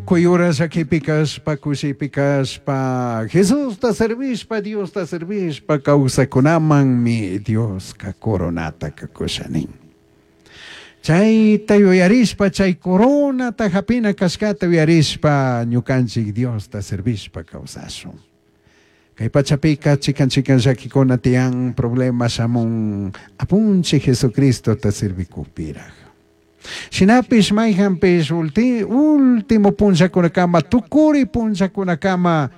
Tukuy hora llakipi kashpa, kushipi kashpa, Jesusta servishpa, Diosta servishpa kawsakunamanmi Dioska coronata kusha nin. Chayta yuyarishpa, chay coronata hapina kashkata yuyarishpa, ñukanchik Diosta servishpa kawsashun. Kay pachapika chikan chikan llakikuna tiyan problema shamun apunchik Jesucristota servikupiraj. Shinapish mayhanpish último punllakunakama tukuri punllakunakama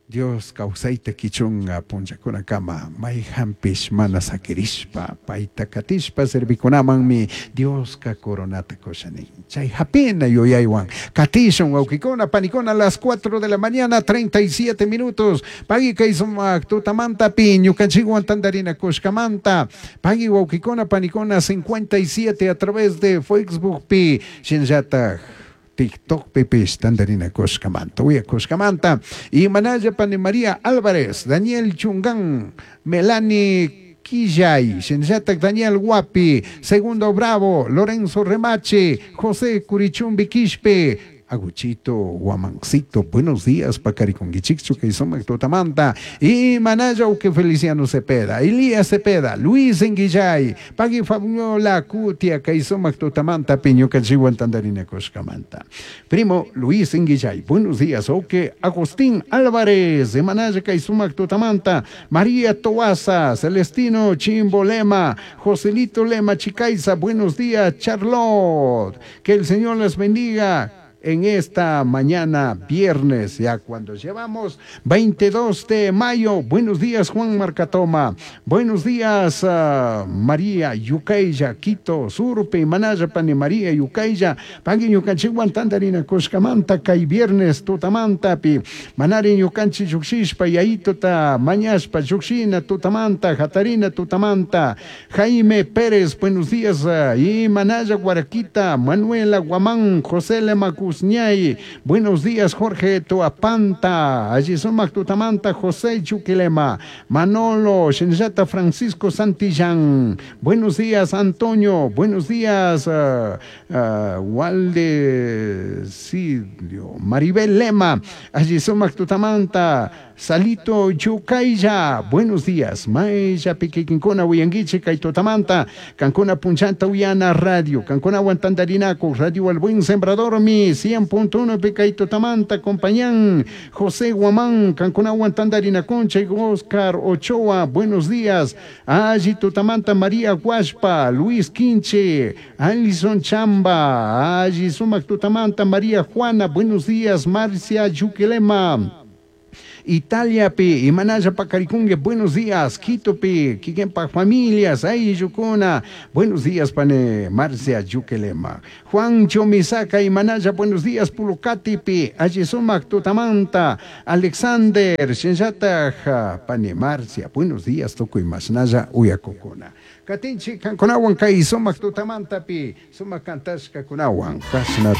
Dios kawsayta kichunga punllakunakama mayhanpish mana sakirishpa payta katishpa servikunamanmi Dioska coronata kusha nin. Chay hapina yuyaywan katishun wawkikuna panikuna las 4 de la mañana 37 minutos pagui kay sumak tutamantapi ñukanchikwan tantarinakushkamanta pagui wawkikuna panikuna 57 a través de Facebook pi shinallatak TikTok pipish tantarinakushkamanta uyakushkamanta y manalla pani María Álvarez, Daniel Chungán, Melanie Quillay, shinallatak Daniel Guapi, Segundo Bravo, Lorenzo Remache, José Curichumbi Quispe, Aguchito, Guamancito, buenos días, Pacariconguichichu, que sumak tutamanta, y Manaya que Feliciano Cepeda, Elías Cepeda, Luis Enguillay, Pagui Fabiola Cutia, que sumak tutamanta, Piñuca Tandarina Coscamanta. Primo Luis Enguillay, buenos días, Oque Agustín Álvarez, de Manaya sumak tutamanta, María Toaza, Celestino Chimbolema, Joselito Lema Chicaiza, buenos días, Charlotte, que el Señor les bendiga en esta mañana viernes, ya cuando llevamos 22 de mayo. Buenos días, Juan Marcatoma. Buenos días, uh, María Yucaya, Quito, Surpe, Manaya, Pani María Yucaya, Pagui ñukanchikwan tantarina kushkamanta, kay viernes tutamantapi, Manari ñukanchi llukshishpa, yayituta, mañashpa, llukshina, tutamanta, Jatarina, tutamanta, Jaime Pérez, buenos días, uh, y Manaya Guaraquita, Manuela Guamán, José Lema Cusñay, buenos días, Jorge Tuapanta, allí sumak tutamanta, José Chuquilema, Manolo, Shinjata Francisco Santillán, buenos días, Antonio, buenos días, uh, uh, Walde Silio, Maribel Lema, allí sumak tutamanta, Salito Yucaya, buenos días, Maya Piquiquincona, Huyanguiche, Kaitotamanta, Cancuna Punchanta, Uyana Radio, Cancuna Guantandarinaco, Radio El Buen Sembrador, mi 100.1 Picaitotamanta, Compañán, José Guamán, Cancuna Guantandarinaconcha, Oscar Ochoa, buenos días, Allí Tutamanta, María Guaspa, Luis Quinche, Alison Chamba, Allí Sumac Tutamanta, María Juana, buenos días, Marcia Yuquilema. Italia pi, Imanaya Pacarikungue, buenos días, Quito pi, Kikenpa familias, ahí Yucuna, buenos días, pane Marcia Yuquelema, Juan Chomisaca, Imanaya, buenos días, Pulucati pi, Ayisumac Tutamanta, Alexander, Shinjataja, pane Marcia, buenos días, Toco y Masnaya, Uyacocona. Katinchi, Kankunawan, Kai, Sumac Tutamanta pi, Sumac Kantashka Kunawan, Kasna.